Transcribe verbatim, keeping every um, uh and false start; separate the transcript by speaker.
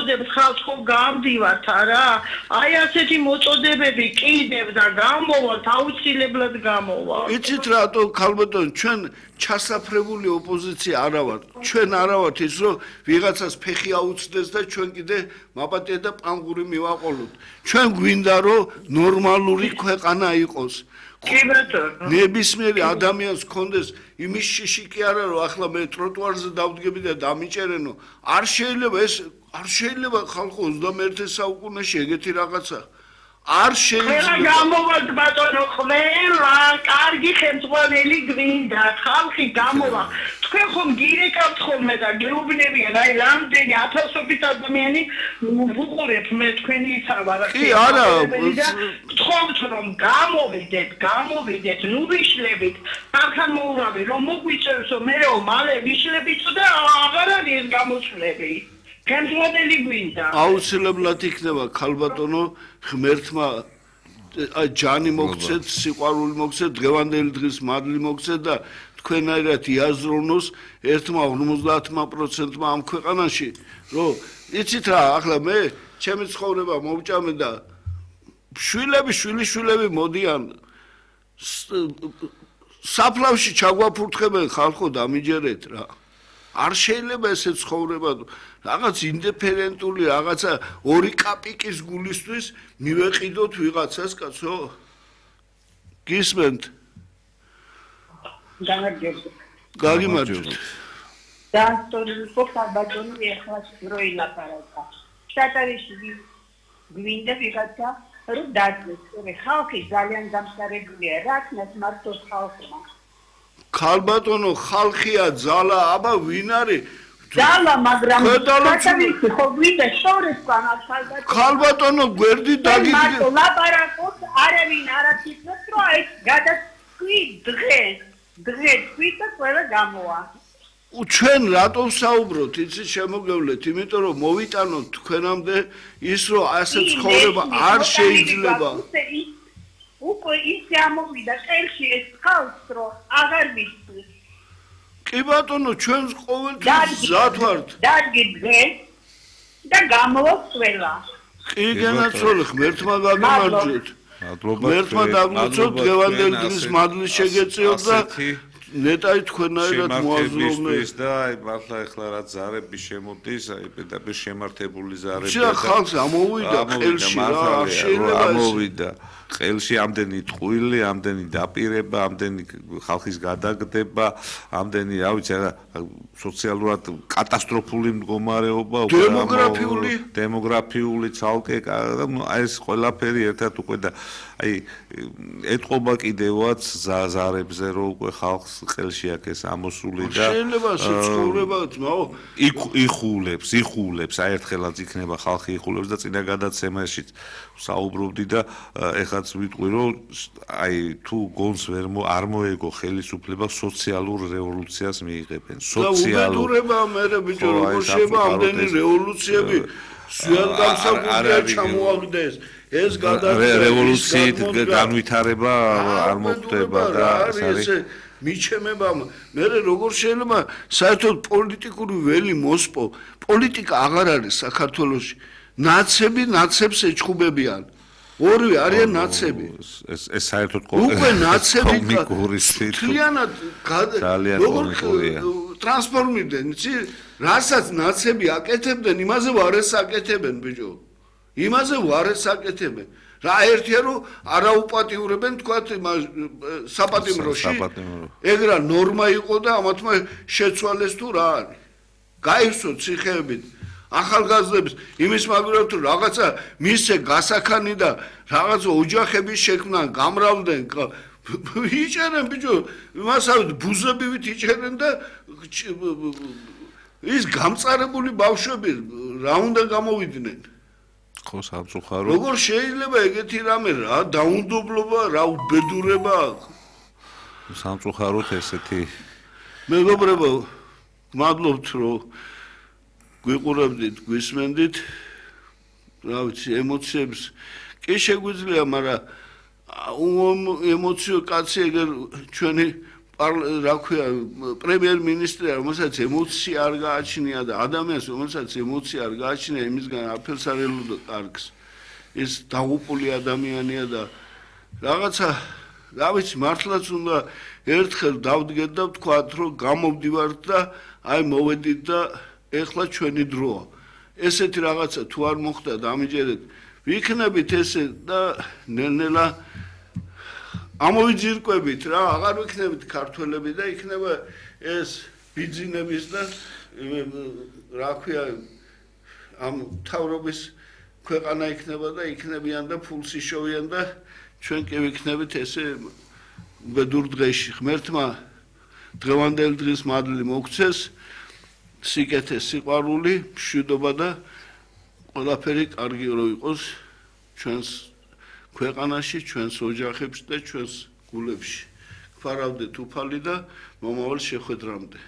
Speaker 1: მოწოდებს ხალხს ხო გამდივართ არა? აი ასეთი მოწოდებები კიდევ და გამოვართ, აუცილებლად გამოვართ.
Speaker 2: იცით რატო ქალბატონო ჩვენ ჩასაფრებული ოპოზიცია არა ვართ. ჩვენ არა ვართ ის რომ ვიღაცას ფეხი აუცდეს და ჩვენ კიდე მაპატია და პანგური მივაყოლოთ. ჩვენ გვინდა რომ ნორმალური ქვეყანა იყოს.
Speaker 1: კი ბატონო.
Speaker 2: ნებისმიერი ადამიანს ჰქონდეს იმის შიში კი არა რომ ახლა მე ტროტუარზე დავდგები და დამიჭერენო. არ შეიძლება ეს არ შეიძლება ხალხო ოცდამეერთე საუკუნეში ეგეთი რაღაცა. არ შეიძლება.
Speaker 1: ყველა გამოვართ ბატონო, ყველა კარგი ხელმძღვანელი გვინდა, ხალხი გამოვა. თქვენ ხომ გირეკავთ ხოლმე და გეუბნებიან, აი რამდენი ათასობით ადამიანი ვუყურებ მე თქვენი ისა ვარ.
Speaker 2: კი არა,
Speaker 1: გთხოვთ რომ გამოვიდეთ, გამოვიდეთ, ნუ ვიშლებით. ახლა მოურავი რომ მოგვიწევსო მეო მალე ვიშლებიც და აღარ არის გამოსვლები. ხელმძღვანელი გვინდა.
Speaker 2: აუცილებლად იქნება ქალბატონო ღმერთმა ჯანი მოგცეთ, სიყვარული მოგცეთ, დღევანდელი დღის მადლი მოგცეთ და თქვენაირად იაზროვნოს ერთმა ორმოცდაათმა პროცენტმა ამ ქვეყანაში, რომ იცით რა, ახლა მე ჩემი ცხოვრება მოვჭამე და შვილები, შვილიშვილები მოდიან საფლავში ჩაგვაფურთხებენ ხალხო დამიჯერეთ რა. არ შეიძლება ესე ცხოვრება რაღაც ინდიფერენტული რაღაცა ორი კაპიკის გულისთვის მივეყიდოთ ვიღაცას კაცო გისმენთ
Speaker 1: გამარჯობთ
Speaker 2: გაგიმარჯობთ
Speaker 1: და სწორედ ხალბატონი ეხლა როილაპარაკა შტატარიში გვინდა ვიღაცა რომ დაძეს ხალხი ძალიან დამსარებულია რაკნას მარტო ხალხმა
Speaker 2: ქალბატონო ხალხია ძალა აბა ვინ არის
Speaker 1: ძალა მაგრამ შტატარიში ხო გვინდა შორესთან ხალბატონო
Speaker 2: ქალბატონო გვერდი დაგიდგე
Speaker 1: მარტო ლაპარაკობს არავინ არ აკითხებს რომ აი გადასკვი დღეს დღეს თვითონ ყველა გამოვა
Speaker 2: ჩვენ რატომ საუბრობთ იცი შემოგევლეთ იმიტომ რომ მოვიტანოთ თქვენამდე ის რომ ასე ცხოვრება არ შეიძლება
Speaker 1: უკვე ისე ამოვიდა წელში ეს ხალხს რომ აღარ ვიცი
Speaker 2: კი ბატონო ჩვენს ყოველთვის მზად ვართ
Speaker 1: დარგი დღეს და გამოვა ყველა
Speaker 2: კი გენაცვალე ღმერთმა გაგიმარჯვეთ ღმერთმა დაგმოწოთ დღევანდელი დღის მადლი შეგეწიოთ და ნეტაი თქვენაირად მოაზროვნეს
Speaker 3: და აი მართლა ეხლა რა ზარები შემოდის აი პედაგოგ შემართებული ზარები
Speaker 2: და ხალხს ამოვიდა ყელში რა არ შეიძლება
Speaker 3: ამოვიდა ყელში ამდენი ტყუილი ამდენი დაპირება ამდენი ხალხის გადაგდება ამდენი რა ვიცი რა სოციალურად კატასტროფული მდგომარეობა
Speaker 2: დემოგრაფიული
Speaker 3: დემოგრაფიული ცალკე აი ეს ყველაფერი ერთად უკვე და აი ეთყობა კიდევაც ზარებზე რომ უკვე ხალხს ყელში აქ ეს ამოსული და
Speaker 2: შეიძლება სიცხოვრება ძმაო
Speaker 3: იხულებს იხულებს აი ერთხელაც იქნება ხალხი იხულებს და წინა გადაცემაში საუბრობდი და ეხლაც ვიტყვი რომ აი თუ გონს ვერ არ მოეგო ხელისუფლება სოციალურ რევოლუციას მიიღებენ
Speaker 2: სოციალურება მე ბიჭო როგორ შეიძლება ამდენი რევოლუციები სულ გამსაგუნია ჩამოაგდეს ეს
Speaker 3: რევოლუციით განვითარება არ მოხდება და
Speaker 2: ეს მიჩემება მე როგორ შეიძლება საერთოდ პოლიტიკური ველი მოსპო პოლიტიკა აღარ არის საქართველოში ნაცები ნაცებს ეჩხუბებიან ორივე არიან ნაცები
Speaker 3: ეს ეს საერთოდ
Speaker 2: უკვე ნაცები
Speaker 3: კომიკურისით
Speaker 2: ძალიანად როგორ ტრანსფორმირდნენ იცი რასაც ნაცები აკეთებდნენ იმაზე ვარ ეს აკეთებენ ბიჭო იმაზე ვარ ეს აკეთებენ რა ერთია რომ არაუპატიურებენ თქვათ საპატიმროში ეგ რა ნორმა იყო და ამათმა შეცვალეს თუ რა არის გაიხსოთ ციხეებით ახალგაზრდებს იმის მაგალითად თუ რაღაცა მისცე გასაქანი და რაღაცა ოჯახების შექმნა გამრავლდნენ იჭერენ ბიჭო იმასავით ბუზებივით იჭერენ და ის გამწარებული ბავშვები რა უნდა გამოვიდნენ
Speaker 3: ხო სამწუხარო
Speaker 2: როგორ შეიძლება ეგეთი რამე რა დაუნდობლობა რა უბედურება
Speaker 3: სამწუხაროდ ესეთი
Speaker 2: მეგობრებო მადლობთ რომ გვიყურებდით, გვისმენდით, რა ვიცი, ემოციებს კი შეგვიძლია, მაგრამ ემოციო კაცი ეგერ ჩვენი რა ქვია პრემიერ-მინისტრი რომელსაც ემოცია არ გააჩნია და ადამიანს რომელსაც ემოცია არ გააჩნია იმისგან არაფერს არ ელოდა კარგს ეს დაღუპული ადამიანია და რაღაცა რა ვიცი მართლაც უნდა ერთხელ დავდგეთ და ვთქვათ რომ გამოვდივართ და აი მოვედით და ეხლა ჩვენი დროა ესეთი რაღაცა თუ არ მოხდა დამიჯერეთ ვიქნებით ესე და ნელ-ნელა ამოვიძირკვებით რა აღარ ვიქნებით ქართველები და იქნება ეს ბიძინების და რა ქვია ამ თავრობის ქვეყანა იქნება და იქნებიან და ფულს იშოვიან და ჩვენ კი ვიქნებით ესე ბედურ დღეში ღმერთმა დღევანდელი დღის მადლი მოგცეს სიკეთე სიყვარული მშვიდობა და ყველაფერი კარგი რო იყოს ჩვენს ქვეყანაში ჩვენს ოჯახებში და ჩვენს გულებში. გვფარავდეთ უფალი და მომავალ შეხვედრამდე.